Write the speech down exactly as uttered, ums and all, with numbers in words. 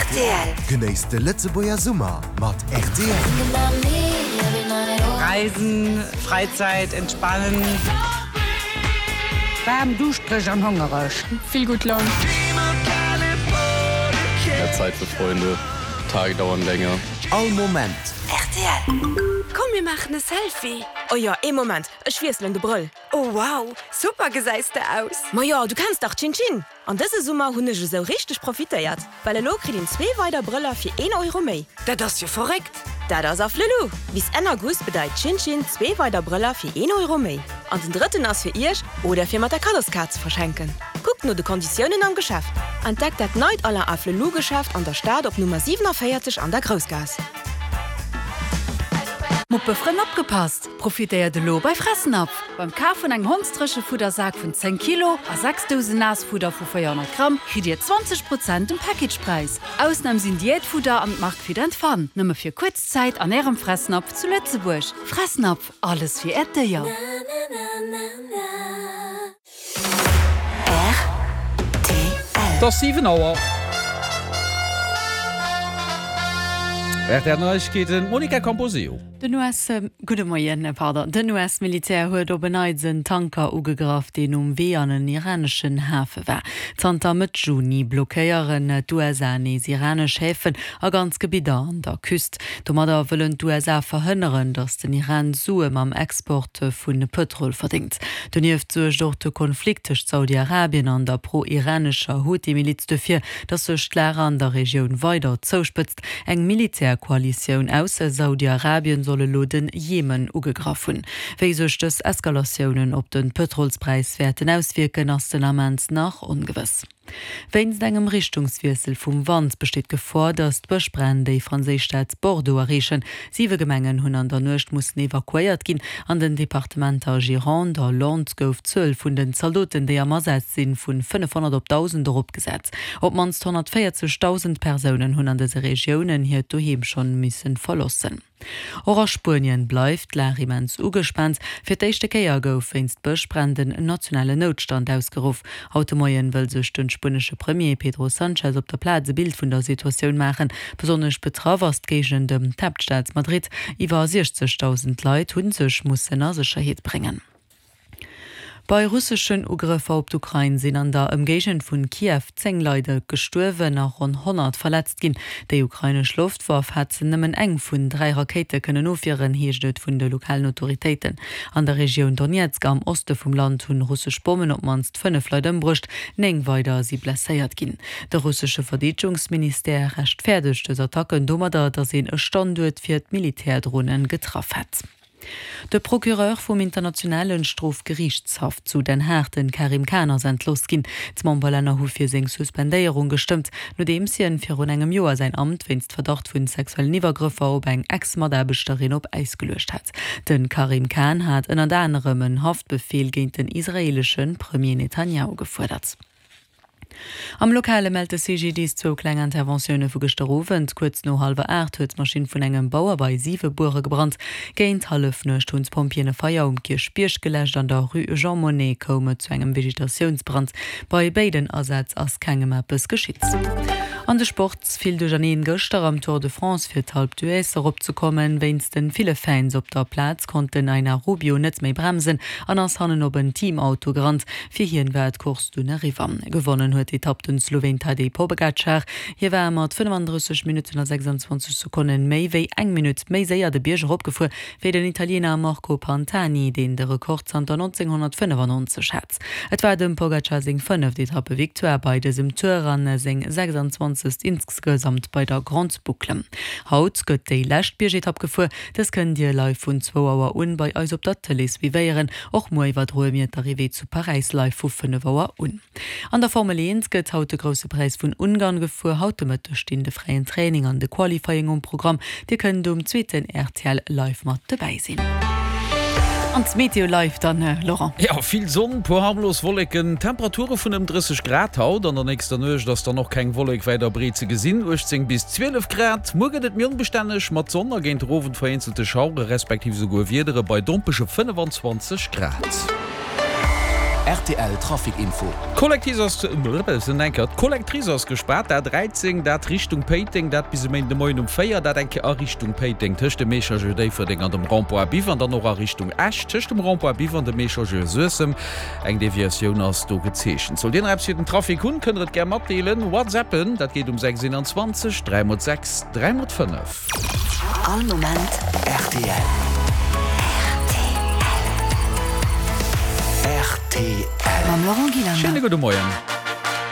Rtl. Genéisst de Lëtzebuerger Summer mat rtl. Reisen, Freizeit, entspannen. Waarm, duuschtereg an hongereg. Vill gutt Laun. Mehr Zeit für Freunde, Tage dauern länger. All Moment. Rtl. Komm mir maachen e Selfie. Oh jo, ee Moment, ech wiesselen de Brëll. Oh wow, super gesäis de aus. Ma jo, du kenns dach Chin Chin. An dëse Summer hunn ech esou richteg profitéiert, well elo kritt een zwee weider Brëller fir een Euro méi. Dat ass jo verréckt. Dat ass Afflelou! Bis Enn August bedeit Chin Chin zwee weider Brëller fir een Euro méi. An den drëtten ass fir iech oder fir mat der Kaddoskaart ze verschenken. Kuckt no de Konditiounen am Geschäft. Entdeckt dat neit Alain Afflelou Geschäft an der Stad op Nummer siewenundvierzig an der Groussgaass. Muppefrënn opgepasst! Profitéiert elo bei Fressnapf! Beim Kaf vun engem Hondsdréchefuddersak vun zéng Kilo a sechs Dousen Naassfudder vu véierhonnert Gramm kritt Dir zwanzeg Prozent um Packagepräis. Ausnam sinn Diätfudder an d'Mark Fit and Fun. Nëmme fir kuerz Zäit an Ärem Fressnapf zu Lëtzebuerg. Fressnapf, alles fir Äert Déier. Et ass siwen Auer. Rtl Neiegkeeten, d'Monica Camposeo. Den US, gudde Moien, pardon, den US-Militär huet op en Neits en Tanker ugegraff, deen um Wee an en iraneschen Hafe war. Zanter Mëtt Juni blockéieren d'USA nees iranesch Häfen a ganz Gebidder an der Küst. Domadder wëllen d'USA verhënneren, datt den Iran Sue mam Export vu Pëtrol verdéngt. Donieft suergt och de Konflikt tëscht Saudi-Arabien an der pro-iranescher Huthi-Miliz dofir, datt sech d'Lag an der Regioun weider zouspëtzt. Eng Militärkoalitioun aus Saudi-Arabien soll elo den Jemen ugegraff hunn. Wéi sech dës Eskalatiounen op de Pëtrolspräis wäerten auswierken, ass den Ament nach ongewëss. Wéinst engem Richtungswiessel vum Wand besteet d'Gefor, datt d'Bëschbränn déi franséisch Stad Bordeaux erreechen. Siwe Gemengen hunn an der Nuecht mussen evakuéiert ginn. An den Departementer Gironde a Landes gouf d'Zuel vun den Zaldoten, déi am Asaz sinn, vun fënnefhonnert op dausend eropgesat. Op d'mannst honnertvéierzegdausend Persounen hunn an dëse Regiounen hiert Doheem schonn missen verloossen. Och a Spuenien bleift d'Lag immens ugespaant. Fir d'éischte Kéier gouf wéinst Bëschbränn den nationalen Noutstand ausgeruff. Haut de Moien wëll sech de spuenesche Premier Pedro Sanchez op der Plaz e Bild vun der Situatioun maachen. Besonnesch betraff ass d'Géigend ëm d'Haaptstad Madrid. Iwwer siechzegdausend Leit hu sech mussen a Sécherheet bréngen. Bei russeschen Ugrëffer op d'Ukrain sinn an der Ëmgéigend vun Kiew zéng Leit gestuerwen a ronn honnert verletzt ginn. Déi ukrainesch Loftwaff hätt nëmmen eng vun dräi Rakéite kënnen ofwieren, heescht et vun de lokalen Autoritéiten. An der Regioun Donezk am Oste vum Land hunn russesch Bommen op d'mannst fënnef Leit ëmbruecht, néng weider si blesséiert ginn. De russesche Verdeedegungsministère rechtfäerdegt dës Attacken domadder, datt een e Standuert fir d'Militärdronen getraff hätt. De Procureur vum Internationalen Strofgeriichtshaff zu Den Haag, den Karim Khan, ass entlooss ginn. D'Memberlänner hu fir seng Suspendéierung gestëmmt, nodeems hien virun engem Joer säin Amt wéinst Verdacht vun sexuellen Iwwergrëffer op eng Ex-Mataarbechterin op Äis geluecht hat. De Karim Khan hat ënnert anerem en Haftbefeel géint den israeelesche Premier Netanjahu gefuerdert. Am Lokale mellt de C G D I S zwou kleng Interventioune vu gëschter Owend. Kuerz no hallwer aacht huet d'Maschinn vun engem Bauer bei Siwebuere gebrannt. Géint Hallefnuecht hunn d'Pompjeeën e Feier um Kierchbierg geläscht. An der Rue Jean Monnet koum et zu engem Vegetatiounsbrand. Bei béiden Asätz ass kengem eppes geschitt. An de Sport, Vill Duercherneen gëschter am Tour de France fir d'Alpe d'Huez erop ze kommen. Wéinst de ville Fans op der Plaz konnt den Einar Rubio net méi bremsen an ass hannen op en Teamauto gerannt. Fir hien war d'Course dunn eriwwer. Gewonnen huet d'Etapp den Sloween Tadej Pogacar. Hie war mat fënnefandrësseg Minutten a sechsandzwanzeg Sekonnen méi wéi eng Minutt méi séier de Bierg eropgefuer wéi den Italiener Marco Pantani, deen de Rekord zanter nonzénghonnertfënnefannonzeg hat. Et war dem Pogacar seng fënneft Etappevictoire bei dësem Tour an seng sechsanzwanzegst insgesamt bei der Grande Boucle. Haut gëtt déi lescht Biergetapp gefuer. Dës kënnt Dir live vun zwou Auer un bei eis op der Tëlee suivéieren. Och muer iwwerdroe mir d'Arrivée zu Paräis live vu fënnef Auer un. An der Formel eent gëtt haut de Grousse Präis vun Ungarn gefuer. Haut de Mëtteg stinn de fräien Training an de Qualifying um Programm. Dir kënnt um zweeten R T L live mat dobäi sinn. An d'Meteo live dann, Laurent. Jo, vill Sonn, puer harmlos Wolleken, Temperature vun ëm drësseg Grad haut. An der nächster Nuecht ass dann och keng Wollek wäit a breet ze gesinn, uechtzéng bis zwielef Grad. Muer gëtt et méi onbestänneg mat Sonn a géint den Owend vereenzelte Schauere respektiv esouguer Wiedere bei dompege fënnefenzwanzeg Grad. Rtl Trafic Info. D'Collectrice ass, d'Collectrice ass gespaart, d'A dräizéng, dat Richtung Péiteng, dat bis e Méinden de Moien um véier, dat eng Kéier a Richtung Péiteng tëscht dem Échangeur Déifferdeng an dem Rond-point Biwer an dann och a Richtung Esch tëscht dem Rond-point Biwer an dem Échangeur Suessem. Eng Deviatioun ass do gezeechent. Sollt Dir nach eppes fir den Trafic hunn, kënnt der et gär matdeelen, WhatsAppen, dat geet um sechs eenanzwanzeg dräi mol sechs dräi mol fënnef. All Moment rtl. Rtl. Mam Laurent Gillander. Schéine gudde Moien.